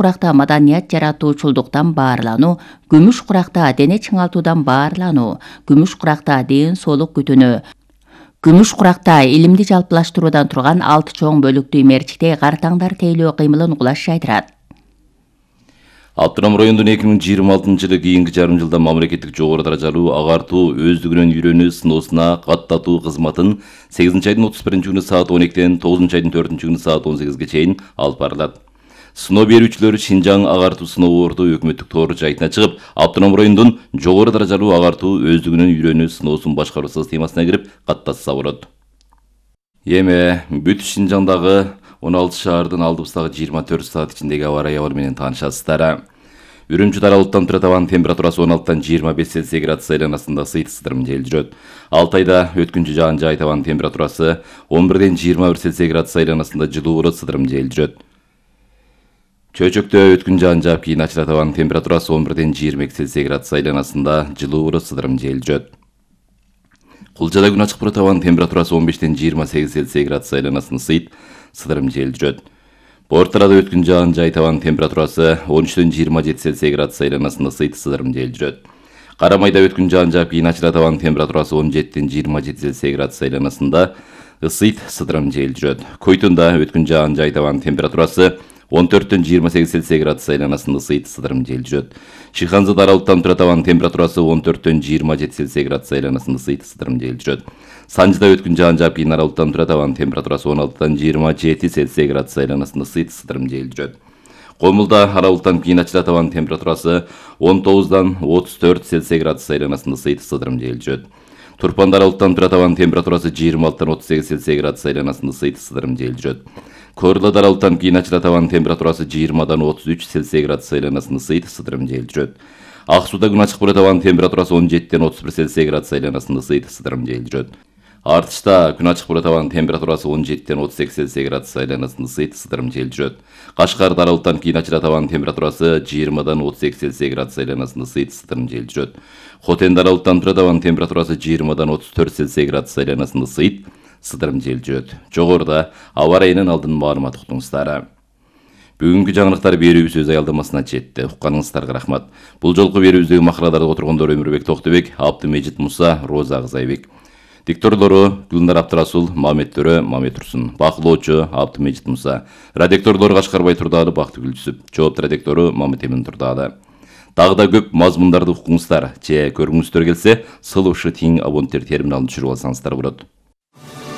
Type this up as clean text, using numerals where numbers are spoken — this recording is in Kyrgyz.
куракта маданият жаратуучулдуктан баарлануу, күмүш куракта дене чыңалтуудан баарлануу, күмүш куракта ден соолук күтүүнү, күмүш куракта илимди жалпылаштыруудан турган 6 чоң бөлүктүү мерчикте картаңдар тейлөө кыймылын угулаш жайдырат. Автоном райондун 2026-жылы кийинки жарым жылда мамлекеттик жогору даражалуу агартуу өздүгүнөн үйрөнүү сыноосуна каттатуу кызматын 8-айдын 31-күнү саат 12-ден 9-айдын 4-күнү саат 18-ге чейин алып барылат. Сыноо берүүчүлөр Шинжаң агартуу сыноо орду өкмөттүк тоор жайтына чыгып, автоном райондун жогору даражалуу агартуу өздүгүнөн үйрөнүү сыноосун башкаруу системасына кирип каттатса болот. Эми бүт Шинжаңдагы 16 шаардын алдыбыздагы 24 саат ичиндеги аба ырайы менен таанышасыздар. Үрүмчү даралыктан турат абанын температурасы 16-тан 25 Цельсий градус айланасында сыйт сыдырым жел жүрөт. Алтайда өткүнчү жаан жай табанын температурасы 11-ден 21 Цельсий градус айланасында жылуу болот, сыдырым жел жүрөт. Чөйчөктө өткүн жаан жаап кийин ачыра табанын температурасы 11-ден 22 Цельсий градус айланасында жылуу болот, сыдырым жел жүрөт. Кулжада күн ачык болот, табанын температурасы 15-ден 28 Цельсий градус айланасында сыйт сыдырым жел жүрөт. Порттарда өткүн жаан жай табанын температурасы 13-ден 27 Цельсий градус айланасында сыйт сыдырым жел жүрөт. Карамайда өткүн жаан жаап кийин ачыра табанын температурасы 17-ден 27 Цельсий градус айланасында ысыйт сыдырым жел жүрөт. Койтунда өткүн жаан жай табанын температурасы 14-ден 28 Цельсий градус айланасында сыйт сыдырым жел жүрөт. Шиханзада аралыктан турат табанын температурасы 14-ден 27 Цельсий градус айланасында сыйт сыдырым жел жүрөт. Санжыда өткүн жаан жаап кийин аралыктан турат табанын температурасы 16-дан 27 Цельсий градус айланасында сыйт сыдырым жел жүрөт. Комулда аралыктан кийин ачыра табанын температурасы 19-дан 34 Цельсий градус айланасында сыйт сыдырым жел жүрөт. Турпанда аралыктан турат табанын температурасы 26-дан 38 Цельсий градус айланасында сыйт сыдырым жел жүрөт. Корлада аралыктан кийин ачыра табанын температурасы 20-дан 33 Цельсий градус айланасында сыйт сыдырым жел жүрөт. Ак сууда күн ачык болот, табанын температурасы 17-ден 31 Цельсий градус айланасында сыйт сыдырым жел жүрөт. Артышта күн ачык болот, табанын температурасы 17-ден 38 Цельсий градус айланасында сыйт сыдырым жел жүрөт. Кашкарда аралыктан кийин ачыра табанын температурасы 20-дан 32 Цельсий градус айланасында сыйт сыдырым жел жүрөт. Хотенде аралыктан турат табанын температурасы 20-дан 34 Цельсий градус айланасында сыйт сыдырым жел жүрөт. Жогоруда аба ырайынын алдын маалымат уктуңуздар. Бүгүнкү жаңылыктар берүүбүз өз аялдамасына жетти. Укканыңыздарга рахмат. Бул жолку берүүбүздөгү макалаларда отургондор Өмүрбек Токтобек, Абдымежит Муса, Роза Кызайбек. Дикторлору Гүлнар Абдрасул, Мамет Төрө, Мамет Турсун. Бакылоочу Абдымежит Муса. Редакторлор Кашкарбай Турдаалы, Бактыгүл Жүсүп. Жоопту редактору Мамет Эмин Турдаалы. Дагы да көп мазмундарды укуңуздар же көргүңүздөр келсе, сылышы тиң абоненттер терминалын түшүрүп алсаңыздар болот.